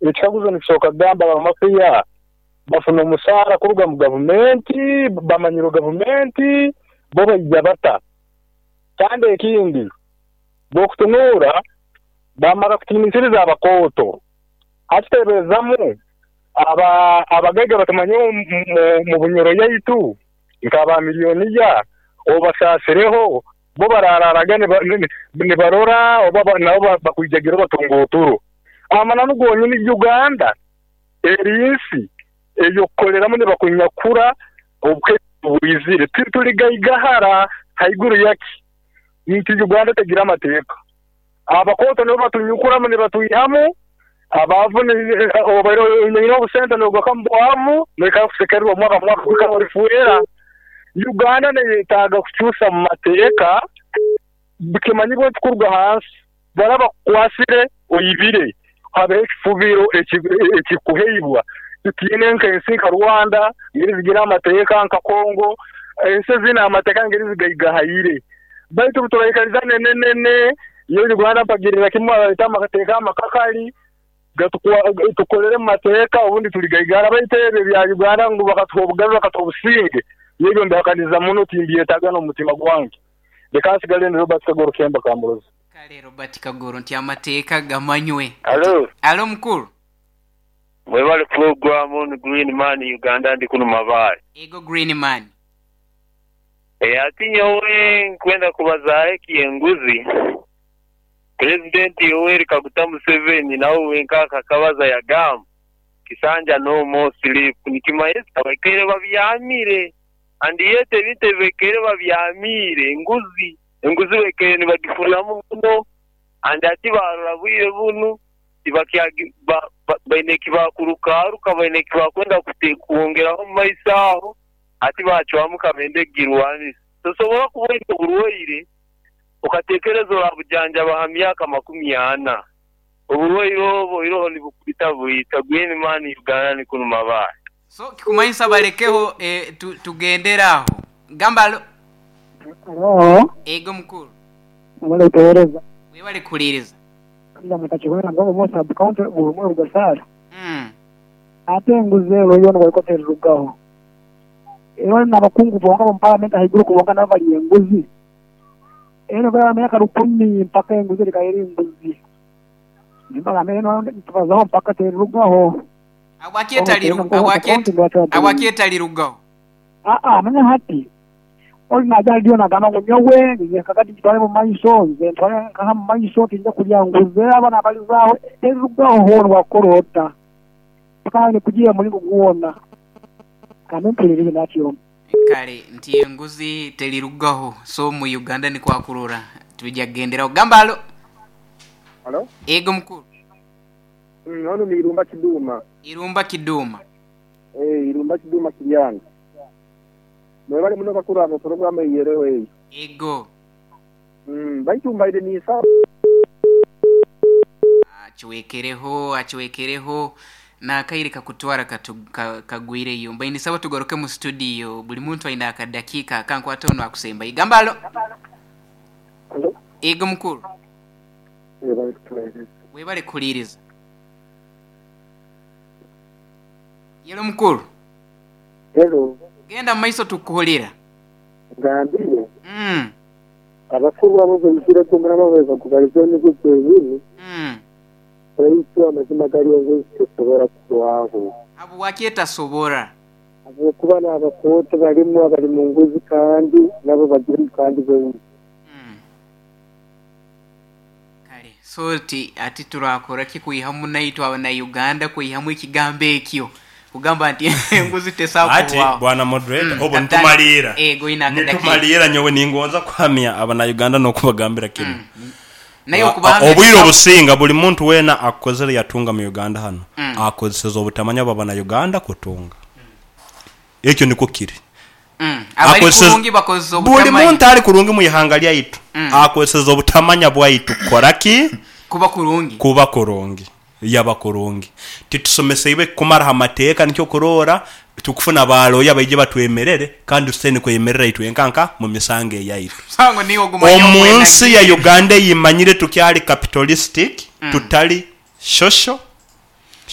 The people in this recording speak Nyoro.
Ekikaguzo nikisooka kugamba abamafiya bafuna omusaara kuruga mu gavumenti, bamanyirwe gavumenti, bo baija bata? Kandi ekindi, bw'okutunuura bamara kutiinisiriza abakooto, hati teeberezamu abagaiga batumanyire mu Bunyoro yaitu nk'aba miliyoniya obasaasireho bo baraaraga nibarora oba nabo bakwijagira batunga oturo. Amananu gonyini Uganda eri nsi ey'okukoleramu nibakunyakura obukeeso bwizire. Tituligaigahara haiguru yaki nti Uganda tegira amateeka. Abakooto nibo batunyukuramu nibatwihamu, abaavu obaire oine obusente nogaruka omu bwavu noikara kusekererwa omwaka ku mwaka kuhika olifwera. Uganda neyetaaga kukyusa mu mateeka bikimanyibwe nti kuruga hansi baraba bakukwasire oibire habeho ekifubiro ekikuheibwa. Titwine nk'ensi nka Rwanda ngeri zigira amateeka nka Congo, ensi ezine amateeka ngeri zigaigahaire. Baitu obu turaikaliza nenenene, nyowe Uganda mpagirira kimu baleete amateeka amakakali tukolere mu mateeka obundi tuligaigahara. Baitu ebyo ebya Uganda ngu bakatuha obugabe bakatuha obusinge, nyowe ebyo mbihakaniza muno timbyetaaga n'omu mutima gwange. Leka nsigale ndi Robert Kagoro Kemba Kamurozi. Kale Robert Kagoro nti amateeka gamanywe. Alo. Alo mukulu. Mwebale pulogulaamu ni Green Man Uganda ndi kunu Mabaale. Ego Green Man. Eeh ati nyowe nkwenda kubazaaho eky'enguzi. Pulezidenti Yoweri Kaguta Museveni nawe wenka akakabaza yagamba kisanja no more sleep nikimanyisa baikaire babyamire and yet ebintu ebi baikaire babyamiire enguzi, enguzi baikaire nibagifunamu muno and hati barora bwire bunu tibakyagi baine ekibakurukaruka baine ekibakwenda kwongeraho omu maiso aho hati bacwamu kabende kugirwanisa. Tosobora kuba oine oburwaire okatekereza orabujanjaba ha myaka makumi ana. Oburwaire obwo iroho nibukwita bwita. Green Man Uganda nikunu mabaale. So kikumanyisa balekeho tugendere aho. Gamba alo. Alo. Ego mukulu. Webale kutuwereza. Webale kuhuliriza. Kaiza mutakihwera ngu omu sub county buri omwe rugasaara. Ate enguzi ero yoona bwerikuba terirugaho. Ero nabakungu bonka abomu parliament ahaiguru ku bonka nabo barya enguzi. Ero bweraba myaka rukumi mpaka enguzi erikaba eri nguzi. Nimbagambira eno nitubazaho mpaka terirugaho. Habwaki etalirugaho? Aa manya hati oli naija aha rediyo nagamba ngu nyowe nze kakati ngitware omu maiso, nze ntware nkaha omu maiso tinja kurya nguzi abo nabalizaaho terirugaho hoona obwakukora ota mpaka aine kugiiha omu muringo gwona. Kambe mpulirize nakyoma. Kale nti enguzi terirugaho so mu Uganda nikwo akurora twija kugenderaho. Gamba alo. Halo. Ego mukulu. Onu ni Irumba Kiduma. Irumba Kiduma. Eeh Irumba Kiduma Kiryanga. Mwebale muno bakulu abo pulogulaamu eyo ereho eyo. Ego. Baitu mbaire ninsaba. Akiwekereho, akiwekereho n'akaire kakutwara kagwireyo. Mbaire nisaba tugaruke mu situdiyo buli muntu aine akadakiika akankwata onu akusembayo. Gamba alo. Halo. Ego mukulu. Webale kutuwereza. Webale kuhuliriza. Yelo mukulu. Hello. Genda mu maiso tukuhulira. Ngambire. Abakuru abo baizire kumuraba bwebakubaliza emigugu ebiri. Baitu amazima gari enguzi tesobora kuhwaho. Habwaki etasobora? Habwokuba n'abakooto barimu abari mu nguzi kandi nabo bagirimu kandi baingi. Kale so ti ati turakora ki kwihamu naitwe abanauganda kwihamu ekigambo ekyo kugamba nti enguzi tesobola Ati kuhwaho. bwana moderator, obu Kapitaani, nitumaliira, ego oine akadakiika. nitumaliira nyowe ningonza kuhamya abanauganda n'okubagambira kinu. Naye okubahamya Obwire tibaku. obusinga buli muntu weena akukozere yatunga mu Uganda hanu, akozeseze obutamanya bw'abanauganda kutunga. Ekyo nikwo kiri. Abali Akozeseze kurungi bakozesa buli obutamanya. muntu ali kurungi mu ihanga lyaitu akozeseze obutamanya bwaitu kukora ki? Kuba kurungi. Kuba kurungi. Yaba kurungi. Titusomeseibwe kumara ha mateeka nikyo okuroora tukufuna ba looya baije batwemerere kandi tusoboire kwemerera itwenka nka mu misango eyaitu. Omusango niiwe ogumanya Omu nsi ya ogwenanyiine. Uganda eyimanyire tukyali capitalistic tutali social.